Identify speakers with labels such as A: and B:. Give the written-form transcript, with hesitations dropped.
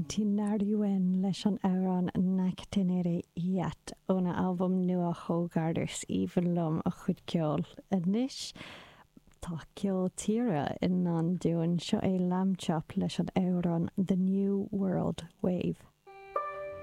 A: Tinariwen leis an amhrán Nacténere Yat óna albam nua Hogarth. Is aoibhinn liom a chuid ceoil. Anois tá ceol tíre i ndán dúinn. Seo é Lambchop leis an amhrán The New World Wave.